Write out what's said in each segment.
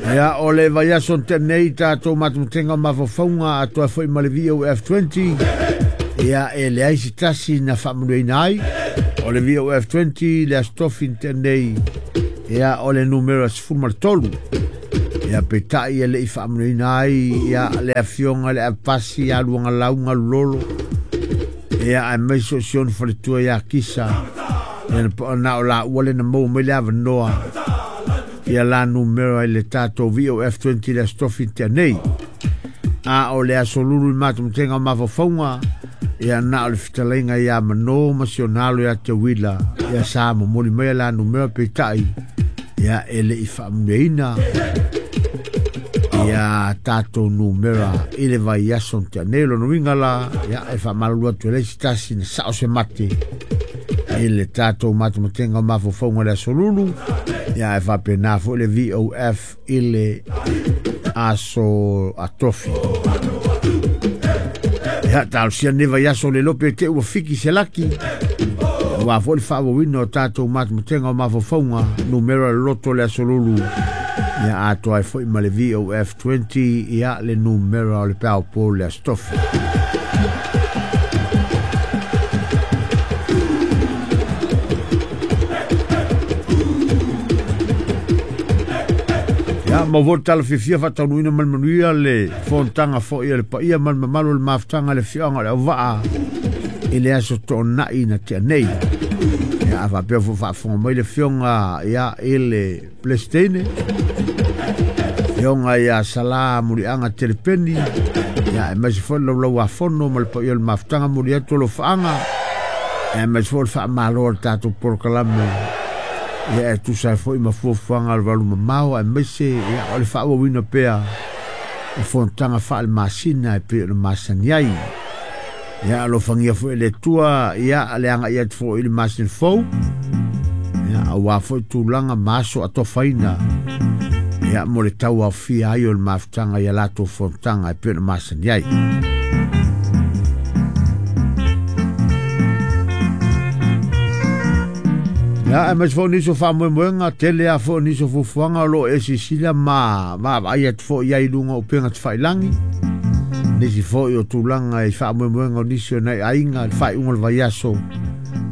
Ia, o le vaiaso na tea nei tatou matematenga o mafaufauga atoa foi ma le VOF20. Ia, e leai se tasi na faamanuiaina ai. O le VOF20 le Aso Tofi na tea nei, ia, o le numera 13. Ia, peitai e le i faamanuiaina ai, ia, le afioga i le Avepasi ia Luagalau Galulolo. Ia, aemaise o si ona faletua ia Kisa. Ia, na o laua le na maua mai le avanoa. Ia la numera i le tatou VOF20 le Aso Tofi na tea nei. A o le Aso Lulu i matematenga o mafaufauga, ia na o le fetalaiga ia Mano ma si ona alo ia Teuila, ia sa momoli mai la numera peitai, ia e le i faamanuiaina ia tatou numera i le vaiaso na tea nei. Lona uiga la, ia e faamalulu atu e leai se tasi na sao se mate i le tatou matematenga o mafaufauga le Aso Lulu, ia e faapena foi le VOF i le Aso Atofi. Ia, talosia lenei vaiaso le iloa pe te ua fiki se laki, aua foi le faaauauina o tatou matematenga o mafaufauga numera loto le Aso Lulu, ia atoa ai foi ma le VOF20, ia le numera o le peao po le Aso Tofi. Ia, maua foi le tala fiafia faataunuuina ma le manuia le fonotaga foi a le paia ma le mamalu o le mafutaga i le afioaga o le Auvaa i le aso toonai na tea nei. Ia, a faapea foi faafofoga mai le afioga ia i le Peresetene, afioga ia Sala Muliaga Telepeni, ia aemaise foi le Laulau-a-Fono ma le paia o le mafutaga muli atu o alofaaga, aemaise foi le faamalo a le tatou polokalame, ia e tusa ai foi ma fuafuaga a le valu mamao, aemaise ia o le faaauauina pea o fonotaga faale-masina e pei ona masani ai. Ia alofagia foi e le Atua, ia le agai atu foi i le masina fou, ia aua foi tulaga ma aso atofaina, ia mo le tauaofia ai o le mafutaga i a latou fonotaga e pei ona masani ai. Ia, aemaise foi o nisi o faamoemoega, tele lava foi o nisi o fuafuaga o lo o e silasila ma vaavaai atu foi i ai i luga o upega tafailagi. Nisi foi o tulaga i faamoemoega o nisi o nai aiga i le faaiuga o le vaiaso,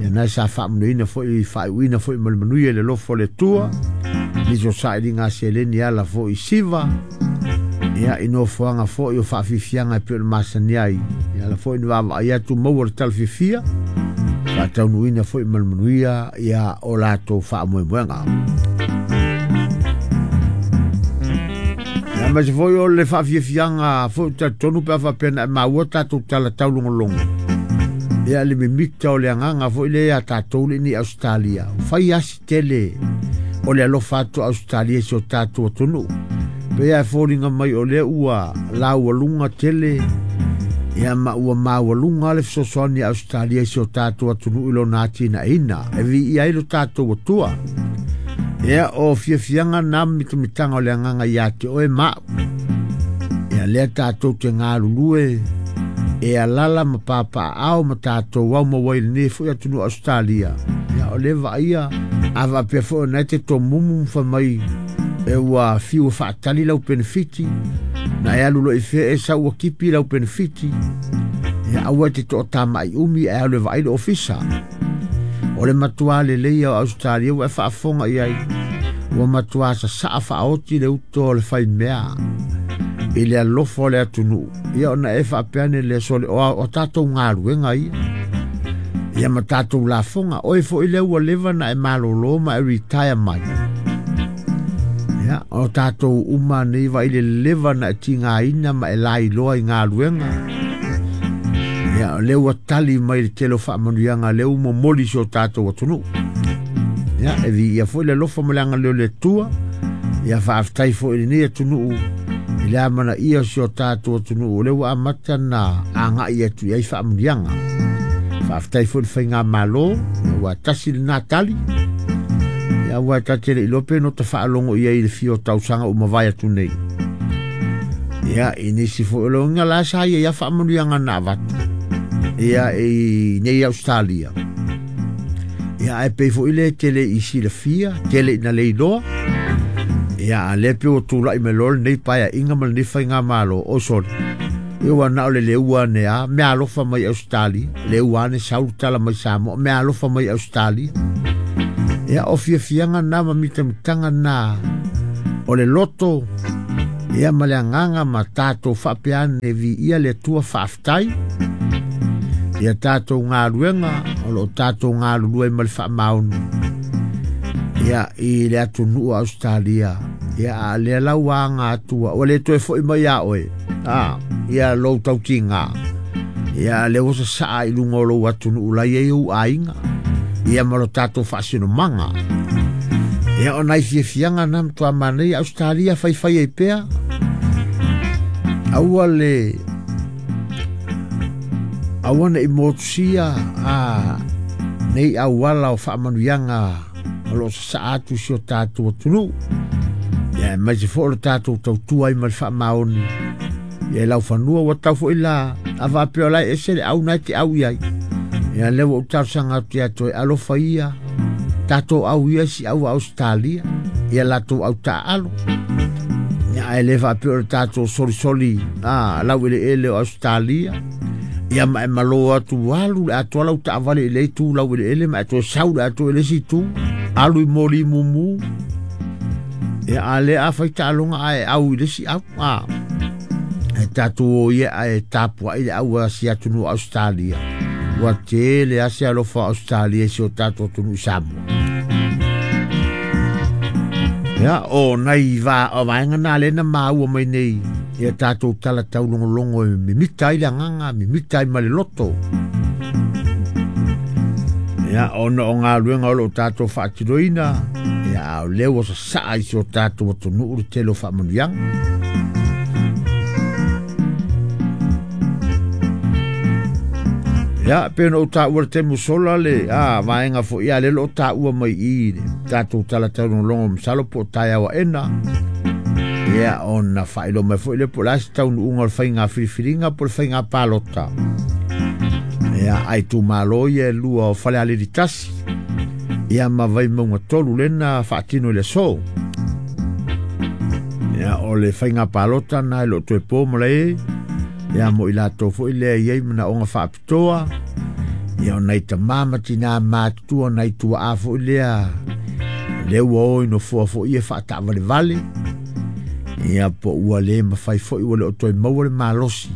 ia na sa faamanuiaina foi, faaiuina foi ma le manuia i le alofa o le Atua. Nisi o sailiga a seleni e ala foi i siva, ia i nofoaga foi o faafiafiaga e pei ona masani ai. Ia ala foi na vaavaai atu maua le tala fiafia, faataunuuina foi ma le manuia ia o latou faamoemoega. Ia aemaise foi o le faafiafiaga foi o talitonu pe a faapea na e maua tatou tala taulogologo. Ia le mimita o le agaga foi lea ia tatou le ni Australia. Fai asi tele o le alofa atu Australia i si o tatou atunuu. Pei lava e foliga mai o lea ua laualuga tele, ia ma ua maualuga le fesoasoani a Australia i si o tatou atunuu i lona atinaeina e viia ai lo tatou Atua. Ia, o fiafiaga na mitamitaga o le agaga ia te oe ma au. Ia lea tatou te galulue e alala ma papaaao ma tatou au maua i lenei foi atunuu Australia. Ia, o le vaaia a faapea foi ona e te tomumu ma fai mai e ua fiu e faatali lau penefiti, na e alu loa i fea e sau ua kipi lau penefiti. Ia, aua e te toatamai umi ae alu e vaai le ofisa. O le matua lelei o Australia ua e faafofoga i ai, ua matua sasaa faaoti le uto o le faimea i le alofa o le atunuu. Ia ona e faapea ane lea sole o tatou galuega ia, ia ma tatou lafoga. Oe foi lea ua leva na e malolo ma e retire mai. Ia, o tatou uma nei vai le leva na e tigaina ma e lailoa i galuega. Ia, o lea ua tali mai le tele o faamanuiaga lea ua momoli si o tatou atunuu. Ia, e viia foi le alofa ma le agalelei o le Atua. Ia, faafetai foi i lenei atunuu i le amanaia o si o tatou atunuu o lea ua amata na agai atu i ai faamanuiaga. Faafetai foi i le faigamalo, ia ua tasi lena tali. Ia, ua ta te le iloa pe no ta faalogo i ai i le fia o tausaga ua mavae atu nei. Ia, i nisi foi o loga la sa ia ia faamanuiaga na avatu. Ia, i nei Australia. Ia, ae pei foi le tele i silafia, tele ina leiloa. Ia a lea pe ua tulai mai loa lenei paeaiga ma lenei faigamalo, oi sole, ia ua na o le leua ane lava, meaalofa mai Ausetalia, leua ane sau le tala mai Samoa, meaalofa mai Ausetalia. Ia o fiafiaga na ma mitamitaga na o le loto, ia ma le agaga ma tatou faapea ane viia le Atua faafetai. Ia tatou galuega o lo o tatou galulue ai ma le faamaoni ia i le atunuu o Ausetalia. Ia a lea la ua aga atu ua le toe foi mai ia oe ia lou tautiga. Ia lea ua sasaa i luga o lou atunuu la i ai ou aiga, ia ma lo tatou faasinomaga. Ia o nai fiafiaga na matua manaia Ausetalia faifai ai pea. Aua le aua ne i motusia nei auala o faamanuiaga o lo o sasaa atu si o tatou atunuu. Ia e maise foi o le tatou tautua ai ma le faamaoni. Ia e laufanua ua tau foi la a faapea o la e ese le au na e te au i ai. Ia lea ua ou talosaga atu ia te oe, alofa ia tatou au ia si au a Ausetalia, ia latou au taaalo. Ia ae le faapea o le tatou solisoli lau eleele o Ausetalia. Ia ma e malo atu alu le atoa lau taavale i le itu lau eleele ma e toe sau le atoa i le isi itu, alu i moli mumu. Ia a le a fai taaloga ae au i le isi au. E tatou o ia ae tapuai le au a si atunuu o Ausetalia. Ua tele lava se alofa o Ausetalia i si o tatou atunuu i Samoa. Ia, o nai vaega na lea na maua mai nei ia tatou tala taulogologo e mimita ai le agaga, mimita ai ma le loto. Ia, ona o galuega o lo o tatou faatinoina, ia, a o lea ua sasaa i si o tatou atunuu le tele o faamanuiaga. Ia, pe ona ou taua le taimi ua sola le vaega foi, ia, lea o lo o taua mai i le tatou tala taulogologo masalo po o taeao aena. Ia, ona faailoa mai foi lea po o le a se taunuuga o le faiga filifiliga po o le faiga palota. Ia, a itumalo ia e lua o Falealili 1, ia ma Vaimauga 3 lena faatino i le aso. Ia, o le faiga palota na e le o toe po ma le, ia mo i latou foi lea e i ai manaoga faapitoa, ia o nai tama ma tina matutua, nai tuaa foi lea, lea ua o i nofoa foi ia faataavalevale, ia po ua le mafai foi ua le o toe maua le malosi,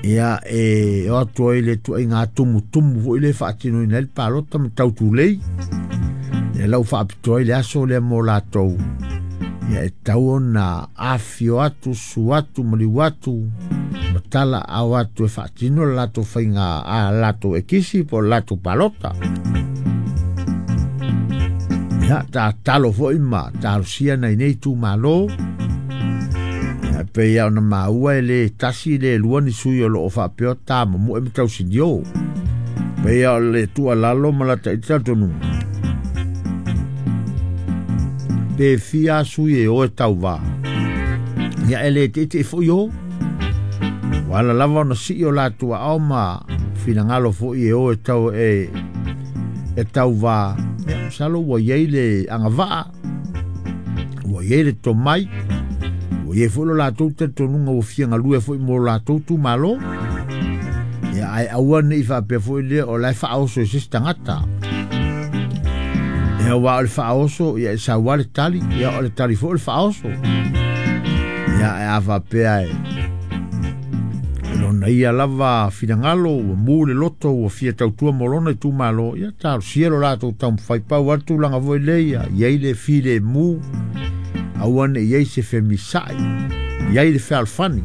ia e o atu ai le tuaiga tumutumu foi lea e faatinoina ai le palota ma tautulei. Ia lau faapitoa ai le aso lea mo latou, ia e tau ona afio atu, susu atu, maliu atu, ma tala ao atu e faatino le latou faiga a latou ekisi po o le latou palota. Ia, tatalo foi ma talosia nai nei itumalo. Ia, pei lava ona maua e le tasi le lua ni sui o lo o faapea o tamamoe ma tausinio. Pei lava o le tuualalo ma lata i talitonuga. Pe fia sui e o e tauva. Ia e le teitei foi o. Ua ala lava ona sii o latou aao ma finagalo foi e o e tau e tauva. Ia, masalo ua i ai le agavaa, ua i ai le tomai, ua i ai foi lo latou talitonuga ua fia galue foi mo latou itumalo. Ia, ae aua ne i faapea foi lea o la e faaoso i se isi tagata. Ia, aua o le faaoso, ia e sau lava le tali, ia o le tali foi o le faaoso. Ia, ae a faapea e lona ia lava finagalo, ua mu le loto, ua fia tautua mo lona itumalo, ia talosia lo latou taumafai. Pau lava le tulaga foi lea ia i ai le filemu, aua ne i ai se femisai, i ai le fealofani.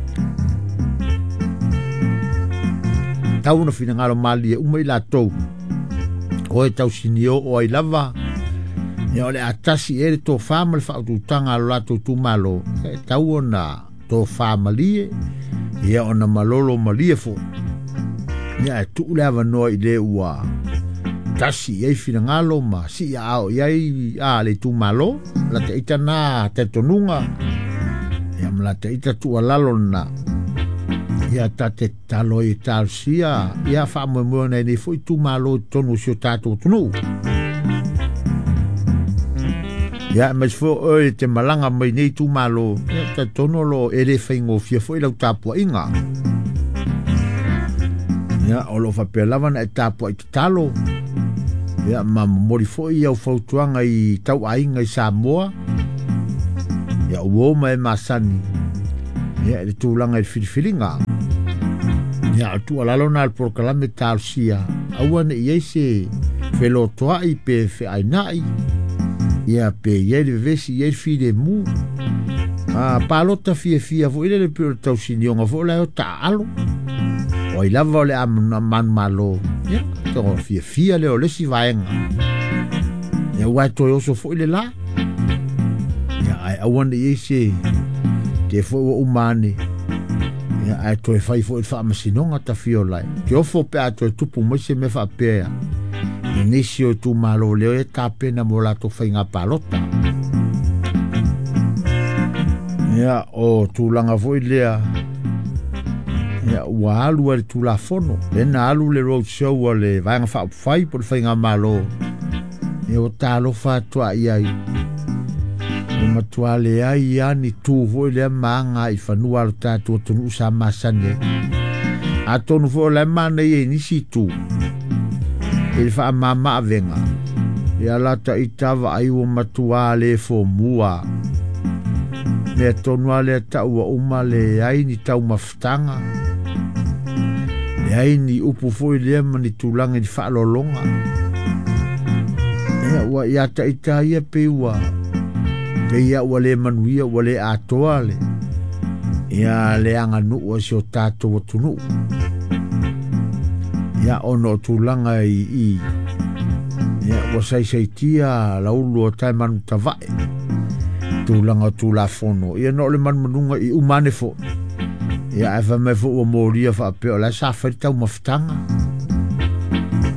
Tau ona finagalo malie uma i latou, o e tausinio o ai lava, ia o le a tasi e le tofa ma le faaututaga a lo latou itumalo, e tau ona tofa malie, ia ona malolo malie foi. Ia e tuu le avanoa i le ua tasi i ai finagalo ma sii aao i ai le itumalo, la te ita na talitonuga, ia ma la te ita tuualalo lena. Ia ta te tatalo ai e talosia, ia faamoemoe ona nei foi itumalo i totonu o si o tatou atunuu. Ia aemaise foi o oe e te malaga mai nei itumalo, ia ou te talitonu o lo o e le faigofie foi lau tapuaiga. Ia o lo o faapea lava ona e tapuai tatalo, ia ma momoli foi au fautuaga i tauaiga i Samoa, ia uo ma e masani, ia i le tulaga i le filifiliga. Ia o le tuualalo lena a le polokalame talosia, aua ne i i ai se felotoai pe feainai, ia pe i ai le vevesi, i ai le filemu. A palota fiafia foi lele pei o le tausinioga foi la e o taaalo. O ai lava o le a manumalo, ia, togo fiafia lea o le isi vaega. Ia ua e toe oso foi le la. Ia ae aua ne i ai se te foi ua uma ane. Ia ae toe fai foi le faamasinoga tafio lai. Te ofo pe a toe tupu mai se mea faapea i nisi o itumalo lea e tapena mo latou faiga palota. Ia o tulaga foi lea, ia ua alu ai le Tulafono, lea na alu le road show a le Vaega Faaupufai po o le Faigamalo, ia ua talofa atu a i ai. Ua matua leai lava ni tu foi lea ma aga i fanua a lo tatou atunuu sa masani ai. Atonu foi o la e manaia i nisi itu i le faamama avega, ia la taita vaai ua matua le fomua. Mea tonu lava lea tau ua uma leai ni taumafataga, leai ni upu foi lea ma ni tulaga i ni faaaloaloga. Ia ua ia taita ia pei ua pei ia ua le manuia, ua le atoa le ia le aganuu a si o tatou atunuu. Ia ona o tulaga i i ia ua saisaitia laulu o tae manu tavae tulaga o Tulafono, ia na o le manumanuga i uma ane foi. Ia ae fai mai foi ua molia faapea o la e sa fai le taumafataga,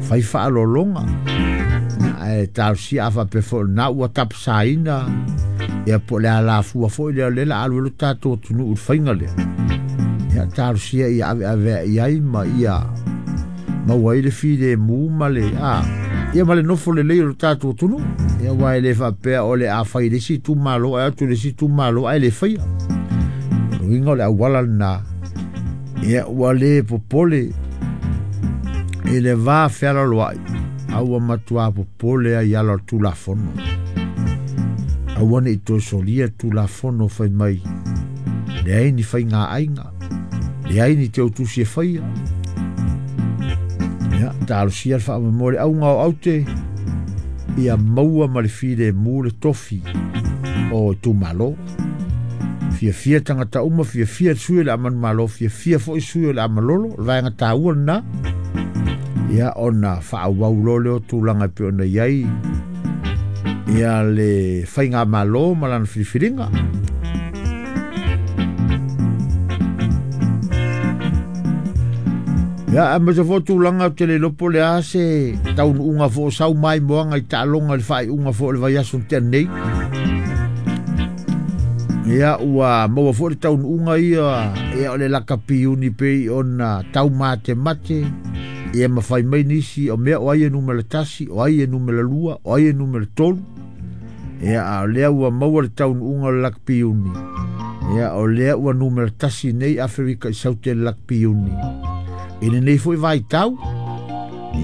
fai faaaloaloga. Ia ae talosia a faapea foi o lena ua tapasaina, ia po o le alafua foi lea o lea o le a alu ai lo tatou atunuu i le faiga lea. Ia talosia ia aveaveai i ai ma ia maua ai le filemu ma le a ia ma le nofo lelei o le tatou atunuu. Ia aua e le faapea o le a fai i le isi itumalo ae atu i le isi itumalo ae le faia. O le uiga o le auala lena, ia ua le popole i le va fealaloai, a ua matua popole ai i ala o le Tulafono. Aua ne i toe solia le Tulafono fai mai, leai ni faigaaiga, leai ni teutusi e faia. Ia, talosia le faamoemoe le auga o aute, ia maua ma le filemu le tofi o itumalo. Fiafia tagata uma, fiafia le sui o le a manumalo, fiafia foi sui o le a malolo, o le vaega taua lena. Ia ona faaauau loa lea o tulaga e pei ona i ai ia le faigamalo ma lana filifiliga. Ia, aemaise foi o tulaga ou te le iloa po o le a se taunuuga foi o sau maimoaga i taaloga i le faaiuga foi o le vaiaso na tea nei. Ia, ua maua foi le taunuuga ia, ia o le lakapi iuni pei ona taumatemate, ia ma fai mai nisi o mea o ai e numera 1, o ai e numera 2, o ai e numera 3. Ia, a o lea ua maua le taunuuga o le lakapi iuni. Ia, o lea ua numera 1 nei Aferika i Saute i le lakapi iuni. I lenei foi vaitau,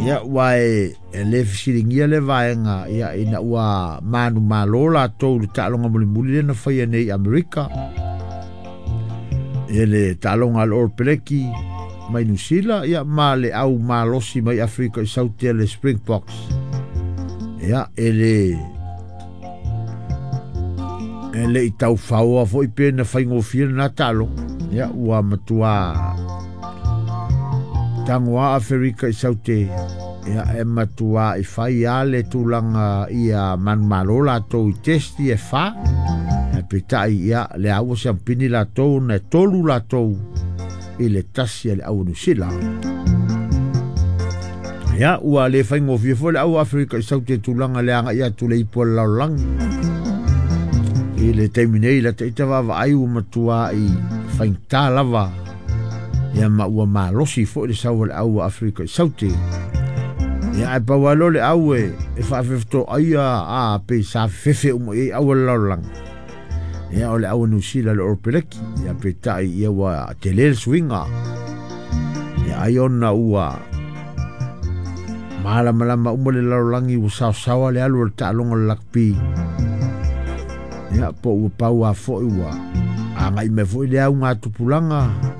ia, ua e le fesiligia le vaega, ia, ina ua manumalo latou i le taaloga mulimuli lea na faia nei i Amerika. Ia, le taaloga a le All Blacks mai Niu Sila, ia, ma le au malosi mai Aferika i Saute le Springboks. Ia, e le i taufaoa foi pe na faigofie lena taaloga. Ia, ua matua tagoa Aferika i Saute, ia, e matua i fai a le tulaga ia manumalo latou i testi e 4. E peitai, ia, le a ua siampini latou na e 3 latou i le 1 a le au Niu Sila. Ia, ua le faigofie foi le au Aferika i Saute tulaga le agai atu le ipu o le lalolagi. I le taimi nei, la taita vaavaai ua matua i faigata lava, ia ma ua malosi foi le sau o le au Aferika i Saute. Ia ae pau lava lea o le au e faafefetoaia a pe sa fefe uma i ai au a le lalolagi. Ia o le au a Niu Sila le Oropeleki. Ia peitai ia ua tele le suiga. Ia ai ona ua malamalama uma le lalolagi ua saosaoa le alu o le taaloga o le lakpi. Ia po ua pau a foi ua agai mai foi le auga tupulaga.